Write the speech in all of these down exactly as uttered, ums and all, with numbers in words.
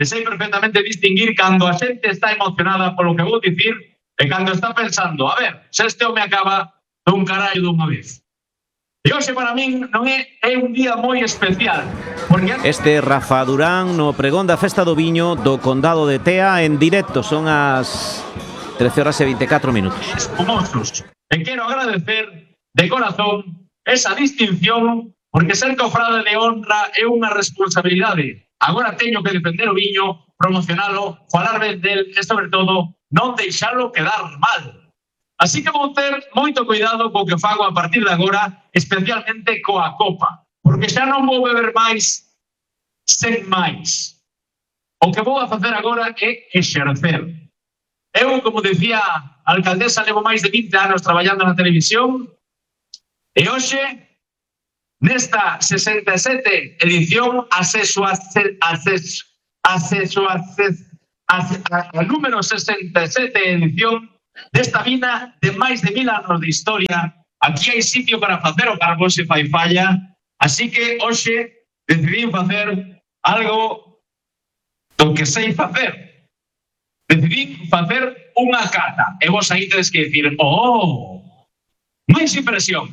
e sei perfectamente distinguir cando a xente está emocionada polo que vou dicir e cando está pensando, a ver, se este home acaba dun carallo dunha vez. E hoxe para min non é, é un día moi especial. Porque... Este é Rafa Durán no pregón da Festa do Viño do Condado de Tea en directo. Son as trece horas e veinticuatro minutos. Espumosos. E quero agradecer de corazón esa distinción porque ser cofrade de honra é unha responsabilidade. Agora teño que defender o viño, promocionalo, falar ben del e, sobre todo, non deixalo quedar mal. Así que vou ter moito cuidado co que fago a partir de agora, especialmente coa copa, porque xa non vou beber máis sen máis. O que vou a facer agora é exercer. Eu, como decía a alcaldesa, levo máis de vinte anos traballando na televisión e hoxe, nesta sesenta e sete edición, acceso a acceso acceso a número sesenta e sete edición desta vina de máis de mil anos de historia. Aquí hai sitio para facer o carbón se fai falla, así que hoxe decidí facer algo do que sei facer. Decidí facer unha cata e vos aí tedes que dicir, oh, máis impresión.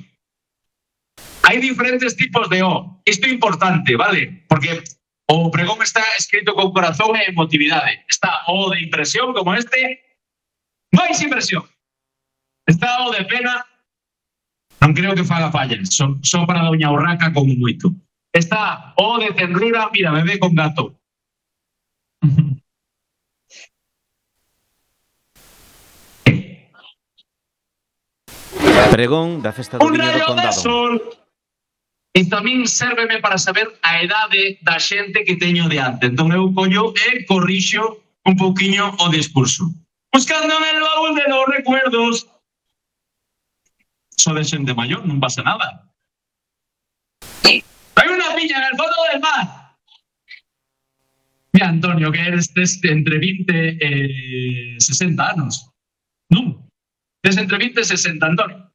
Hai diferentes tipos de O. Isto é importante, vale? Porque o pregón está escrito con corazón e emotividade. Está O de impresión como este, máis impresión. Está o de pena, non creo que faga fallas, son, son para doña Urraca como moito. Está o de ternura, mira, bebé con gato. Pregón da Festa do Viño do Condado. E tamén sérveme para saber a edade da xente que teño diante. Entón eu collo e corrixo un pouquiño o discurso. Buscando en el baúl de los recuerdos. So de xente maior, non pasa nada. Hai unha piña en el fondo del mar. Mira, Antonio, que eres entre vinte e sesenta anos. Non, tes entre vinte e sesenta, Antonio.